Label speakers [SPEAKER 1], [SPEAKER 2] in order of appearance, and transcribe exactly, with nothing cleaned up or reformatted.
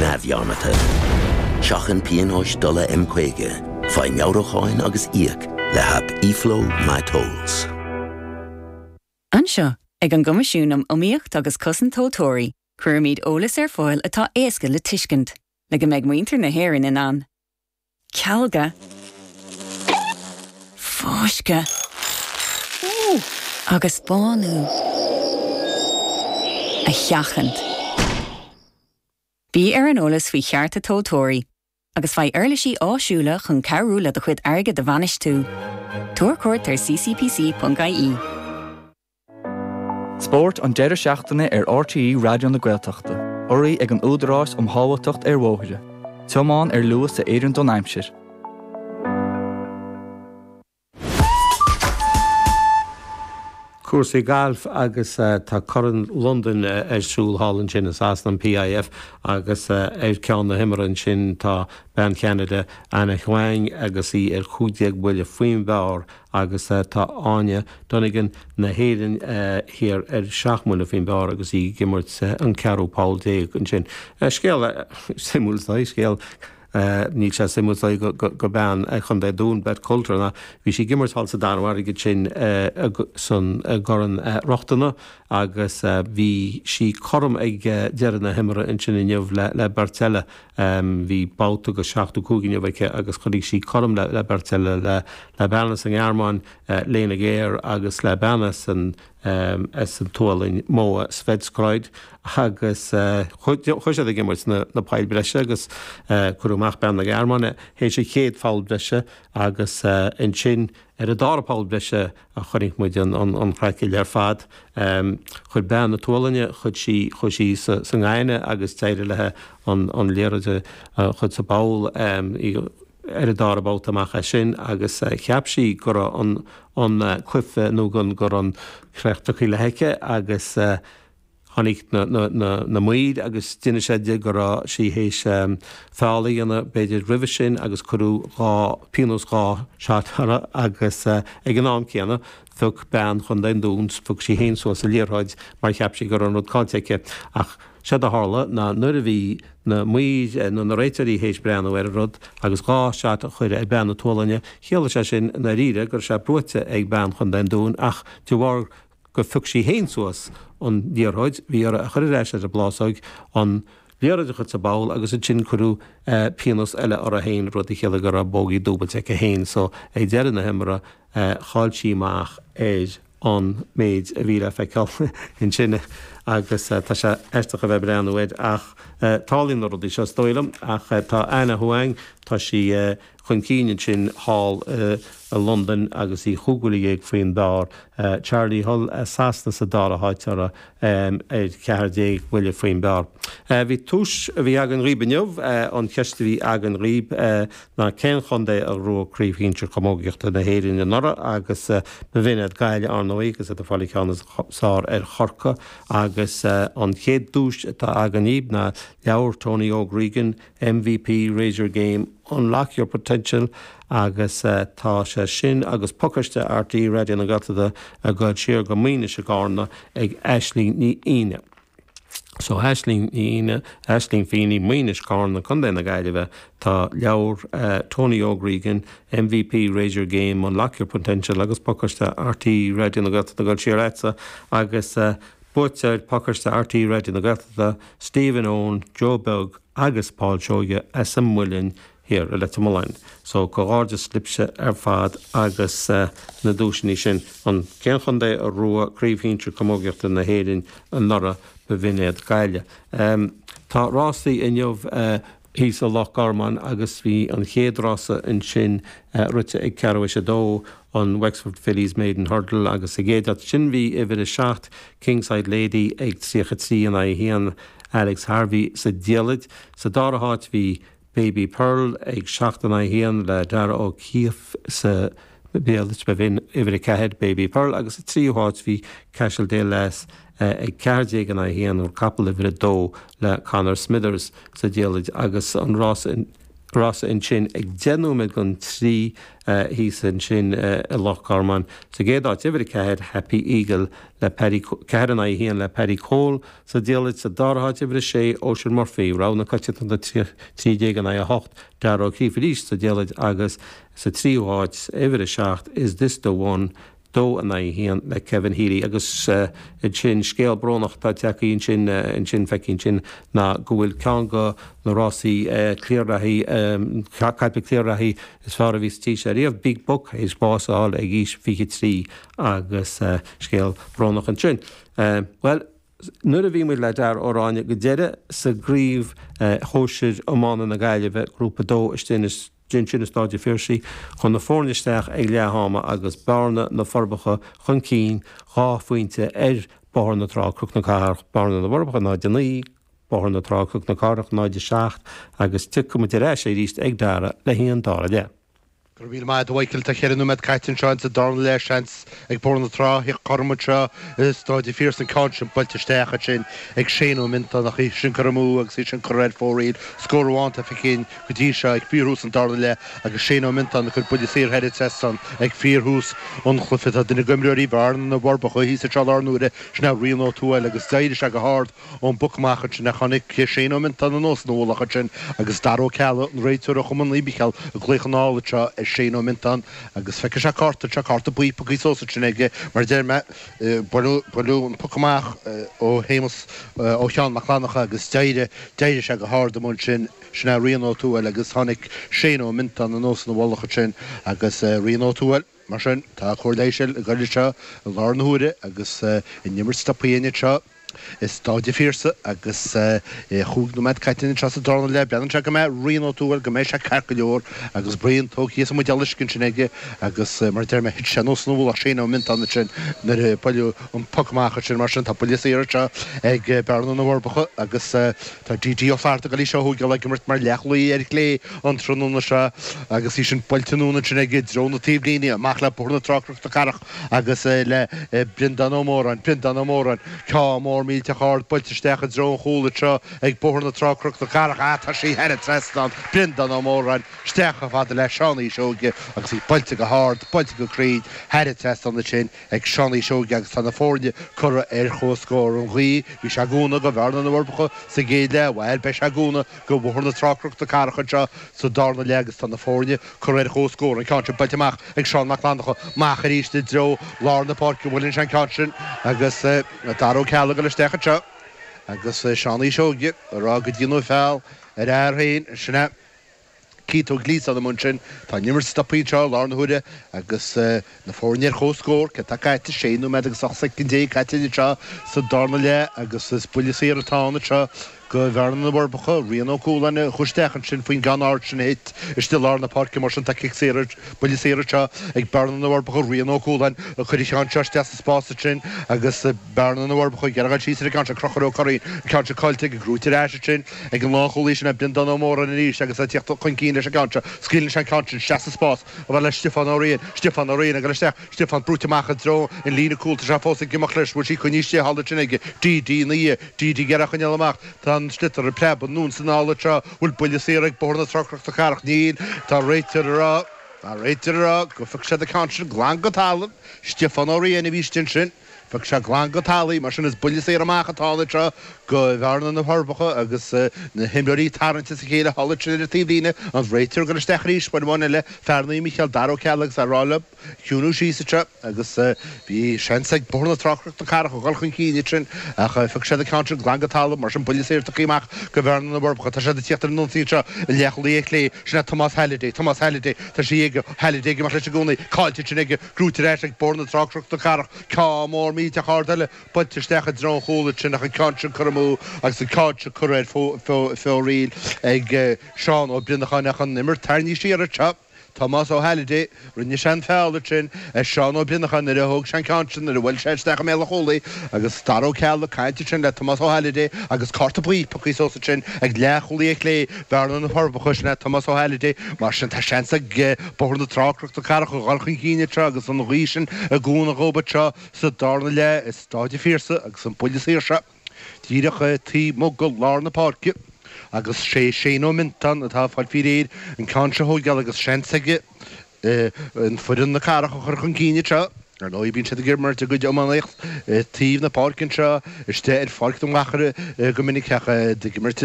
[SPEAKER 1] neamhdhearmadta. Seachain pionóis dola M caoga, faigh meabhrúcháin agus íoc le haip eFlow MyTolls.
[SPEAKER 2] Anseo ag an gCoimisiún um Iomaíocht agus Cosaint Tomhaltóirí, cuirimid eolas ar fáil atá éasca le tuiscint, le go mbeidh muintir na hÉireann in ann. Cealga Fáisceadh agus bánú a sheachaint. Bí ar an eolas faoi chearta tomhaltóirí, agus faigh uirlisí áisiúla chun cabhrú le do chuid airgid a bhainistiú. Tabhair cuairt ar ccpc.ie.
[SPEAKER 3] Spórt an deireadh seachtaine ar RTÉ Raidió na Gaeltachta, urraithe ag an Údarás um Shábháilteacht ar Bhóithre. Tiomáin ar luas a oireann don aimsir.
[SPEAKER 4] Cúrsaí gailf agus tá Corn Londain ar siúl thall ansin i Sasana an PIF agus ar ceann na himeartha ansin tá bean Cheanada Anna Huang agus í ar chúig déag buille faoin bpar agus tá Áine Donegan na hÉireann thiar ar seacht mbuille faoin bpar agus í ag imirt an ceathrú poll déag ansin. Scéal suimiúil scéal Níl sé suimiúil go bean Chontae an Dúin Beth Coulter ná bhí sí ag imirt thall sa Danmhairg ansin san gCorn Rochtana agus bhí sí cothrom ag deireadh na himeartha ansin inniu le le beirt eile. Bhí babhta go seachtó cúig inniu aici agus choinnigh sí cothrom le le beirt eile le le bean as an nGearmáin Lena Geier agus le bean as an as an tSualainn Moa Svedskroid agus chuaigh siad ag imirt na poill breise agus cuireadh amach bean na Gearmáine théis an chéad pholl breise agus ansin ar an dara poll breise a chonaic muid an chraiceáil ar fad. Chuir bean na tSualainne, chuir sí, chuaigh sí sa ngainne agus d'éirigh léi an liathróid a chur sa bpoll. Ar an dara babhta amach as sin agus cheap sí go raibh an an cluiche nó go raibh an chríoch tugtha léi aici agus tháinig na na na na maoir agus d'inis siad di go raibh sí théis feall a dhéanamh b'fhéidir roimhe sin agus cuireadh dhá pionós dhá shot uirthi agus ag an am céanna phioc bean Chontae an Dúin phioc sí féin suas an liathróid mar cheap sí go raibh an rud caillte aici ach Séard a tharla ná nuair a bhí na maoir nó na réiteoirí théis breathnú ar an rud agus dhá shot a chur ar bean na tSualainne, chiallaigh sé sin i ndáiríre go raibh sé buaite ag bean Chontae an Dúin ach de bharr gur phioc sí féin suas an liathróid, bhí uirthi a chur ar ais ar an bplásóg, an liathróid a chur sa bpoll agus ansin cuireadh pionós eile uirthi féin, rud a chiallaigh go raibh bogey dúbailte aici féin. So ag deireadh na himeartha chaill sí amach ar an méid a bhí le feiceáil ansin agus tá sé aisteach a bheith ag breathnú air ach tarlaíonn na rudaí seo is dóigh liom ach tá Anna Huang, tá sí chun cinn ansin thall i Londain agus í chúig bhuille dhéag faoin bpar. Charley Hull as Sasana sa dara háit uirthi ar cheathair déag buille faoin bpar. Bhí duais a bhí againn dhaoib inniu, an cheist a bhí againn dhaoib ná cén chontae a ghnóthaigh Craobh Shinsir Chamógaíochta na hÉireann anuraidh agus b'in iad Gaillimh ar ndóigh agus iad ag fáil an ceann is fearr ar Chorcaigh agus an chéad duais atá againn dhaoib ná leabhar Tony Óg Regan, MVP Raise Your Game, Unlock Your Potential agus tá sé sin agus pacáiste RTÉ Raidió na Gaeltachta ag dul siar go Maínis i gCarna ag Aisling Ní Fhínne. So Aisling Ní Fhínne, Aisling Feeney, Maínis, Carna, Contae na Gaillimhe, tá leabhar Tony Óg Regan, MVP Raise Your Game, Unlock Your Potential agus pacáiste RTÉ Raidió na Gaeltachta ag dul siar agatsa agus buaiteoir pacáiste RTÉ Raidió na Gaeltachta, Stephen Eoin, Joe Beag agus Paul Seoige as an Muileann thiar i Leitir Mealláin. So comhghairdeas libhse ar fad agus na duaiseanna sin. An cén chontae a ghnóthaigh Craobh Shinsir Camógaíochta na hÉireann anuraidh b'in iad Gaillimh. Tá rásaí inniu thíos i Loch Garman agus bhí an chéad rása ansin rite ag ceathrú théis a dó, an Wexford Fillies Maiden Hurdle agus sa gcéad áit sin bhí uimhir a seacht Kingside Lady ag tríocha trí in aghaidh a haon Alex Harvey sa diallait. Sa dara háit bhí Baby Pearl ag seacht in aghaidh a haon le Darragh O'Keeffe sa diallait, b'in uimhir a ceathair Baby Pearl agus sa tríú háit bhí Cashel Lass ag ceathair déag in aghaidh a haon, capall uimhir a dó le Conor Smithers sa diallait agus an rás rása ansin ag deich nóiméad don trí thíos ansin i Loch Garman. Sa gcéad áit uimhir a ceathair Happy Eagle le Paddy ceathair in aghaidh a haon le Paddy Cole sa diallait sa dara háit uimhir a sé Oisin Murphy rogha na coitiantachta trí déag in aghaidh a hocht Dara Ó Críofa arís sa diallait agus sa tríú háit uimhir a seacht Is This the One dó in aghaidh a haon le Kevin Healy agus ansin scéal brónach atá tagtha ansin ansin feicthe ansin ná go bhfuil ceann de na rásaí cliar-reathaí caiple cliar-reathaí is fearr a bhí sa tír seo riamh Big Buck théis bás a fháil ag aois fiche trí agus scéal brónach ansin. Bhuel nuair a bhí muid le Dara Ó Ráinne go deireadh sa gcraobh shóisir iomána na Gaillimhe grúpa dó istigh ansin i Staid an Phiarsaigh chun na foirne isteach ag leath ama agus Bearna na Forbacha chun cinn dhá phointe ar Bóthar na Trá Cnoc na Cathrach Bearna na bhForbacha náid a naoi Bóthar na Trá Cnoc na Cathrach náid a seacht agus tiocfaidh muid ar ais arís ag Dara le haghaidh an dara leath.
[SPEAKER 5] Go raibh míle maith agat a Mhichael, tá ceithre nóiméad caite anseo insa darna leath, seans ag Bóthar na Trá theacht cothrom anseo i Stáid an Phiarsaigh an ceann sin buailte isteach ansin ag Shane Ó Miontáin ach í sin curtha amú agus í sin curtha ar fóraoil. Scór amháin atá feicthe againn go dtí seo ag fíorthús an darna leath agus Shane Ó Miontáin ag cur buille saor thar an trasnán ag fíorthús an chluiche. Tá duine d'imreoirí Bhearna na bhForbacha thíos anseo i láthair na huaire, sin é Rian Ó Tuathail agus d'éirigh sé go hard ón bpoc amach ansin ach tháinig Shane Ó Miontáin anuas ina mhullach ansin agus Dara Ó Ceallaigh, an réiteoir ó Chumann Naomh Micheál, ag glaoch anall anseo ar Shane Ó Miontáin agus feicfidh sé cárta anseo, cárta buí pioctha suas ansin aige mar a deir mé, buaileadh an poc amach ó Shéamus, ó Sheán Mac Fhlannchadha agus d'éirigh, d'éirigh sé go hard amuigh ansin, sin é Rian Ó Tuathail agus tháinig Shane Ó Miontáin anuas ina mhullach ansin agus Rian Ó Tuathail, mar sin, tá cóir leighis ag goil anseo i láthair na huaire agus an imirt stoptha anseo. I Stáid an Phiarsaigh agus chúig nóiméad caite anseo sa darna leath. Breathnaíonn sé go mbeidh Rian Ó Tuathail, go mbeidh sé ceart go leor agus braon tógtha as an mbuidéal uisce ansin aige agus mar a deir mé thit sé anuas ina mhullach Shane Ó Miontáin ansin nuair a buaileadh an poc amach ansin. Mar sin tá buille saor anseo ag Bearna na bhForbacha agus tá D.D. Ó Flatharta ag dul í seo a thógáil ag imirt mar leathchúlaí ar chlé an tráthnóna seo agus í sin buailte anonn ansin aige i dtreo na taobhlíne amach le Bóthar na Trá Cnoc na Cathrach agus le Breandán Ó Móráin, Breandán Ó Móráin, ceann mór millteach ard buailte isteach i dtreo an chúil anseo ag Bóthar na Trá Cnoc na Cathrach. Ah, tá sí thar an trasnán, Breandán Ó Móráin, isteach chomh fada le Seán Uí Seoige agus í buailte go hard, buailte go cruinn thar an trasnán ansin ag Seán Uí Seoige agus tá na foirne curtha ar comhscór. An ghaoth, bhí sé ag cúnamh do Bhearna na bhForbacha sa gcéad leath, bhuel, beidh sé ag cúnamh do Bhóthar na Trá Cnoc na Cathrach anseo sa darna leath agus tá na foirne curtha ar comhscór. An ceann sin buailte amach ag Seán Mac Fhlannchadha, amach arís i dtreo lár na páirce, buaileann sé an ceann sin agus Dara Ó Ceallaigh ag dul isteach anseo agus Seán Uí Seoige ag rá go ndéanadh feall ar a fhear féin. Sin é Keith Ó Gliasáin amuigh ansin. Tá an imirt stoptha anseo i láthair na huaire agus na foirne ar comhscór. Céard atá caite? Sé nóiméad agus ocht soicind déag caite anseo sa darna leath agus is buille saor atá ann anseo do Bhearna na bhForbacha. Rian Ó Cualáin a chuaigh isteach ansin faoin gceann ard sin a thit istigh i lár na páirce. Mar sin tá cic saor, buille saor anseo ag Bearna na bhForbacha. Rian Ó Cualáin a chuir an ceann seo isteach sa spás ansin agus Bearna na bhForbacha ag iarraidh dul síos ar an gceann seo. Conchúr Ó Curraoin, an ceann seo caillte aige, gnóite ar ais ansin ag an lánchúlaí sin é Breandán Ó Móráin arís agus é ag tíocht chun cinn leis an gceann seo. Scaoileann sé an ceann sin isteach sa spás chomh fada le Stiofán Ó Riain. Stiofán Ó Riain ag dul isteach. Stiofán brúite amach i dtreo an líne cúil. Tá sé fós ag imeacht leis. Bhfuil sí coinnithe istigh thall ansin aige? D.D. ina dhiaidh. D.D. ag iarraidh a choinneáil amach. Tá an sliotar ag preabadh anonn is anall anseo. Bhfuil buille saor ag Bóthar na Trá Cnoc na Cathrach? Níl. Tá an réiteoir ag rá, tá an réiteoir ag rá go phioc siad an ceann sin glan go talamh. Stiofán Ó Riain a bhí istigh ansin. Phioc sé glan go talamh í. Mar sin is buille saor amach atá ann anseo do Bhearna na bhForbacha agus na himreoirí ag tarraingt as a chéile thall ansin ar an taobhlíne. An réiteoir ag dul isteach arís uair amháin eile, fear Naomh Mícheál, Dara Ó Ceallaigh agus é ag rá leo ciúnú síos anseo agus bhí seans ag Bóthar na Trá Cnoc na Cathrach a dhul chun cinn ansin ach phioc siad an ceann sin glan go talamh. Mar sin buille saor tugtha amach do Bhearna na bhForbacha. Tá siad ag tíocht ar an ionsaí anseo an leathchúlaí ar chlé. Sin é Tomás Halliday. Tomás Halliday. Tá sí aige. Halliday ag imeacht leis i gcónaí. Caillte ansin aige. Gnóite ar ais ag Bóthar na Trá Cnoc na Cathrach. Ceann mór millteach ard eile buailte isteach i dtreo an chúil ansin ach an ceann sin curtha amú agus an ceann sin curtha ar fóraoil ag Seán Ó Brionacháin ach an imirt tarraingthe siar anseo. Tomás Ó Halliday, Rinne sé an feall ansin ar Seán Ó Brionacháin nuair a thóg sé an ceann sin nuair a bhuail sé isteach i mbéal an chúlaí agus Dara Ó Ceallaigh ag caint ansin le Tomás Ó Halliday agus cárta buí pioctha suas ansin ag leathchúlaí ar chlé Bhearna na bhForbacha, sin é Tomás Ó Halliday. Mar sin tá seans ag Bóthar na Trá Cnoc na Cathrach a dhul chun cinn anseo agus an ghaoth sin ag cúnamh dhóibh anseo sa darna leath i Stáid an Phiarsaigh agus an buille saor seo díreach taobh amuigh de lár na páirce. Agus sé Shane Ó Mintáin atá ag fáil faoi réir an ceann seo a thógáil agus seans aige an foireann na Cathrach a chur chun cinn anseo. Ar ndóigh bíonn siad ag imirt a gcuid iománaíocht taobh na páirce anseo istigh ar Pháirc na Machaire go minic ach ag imirt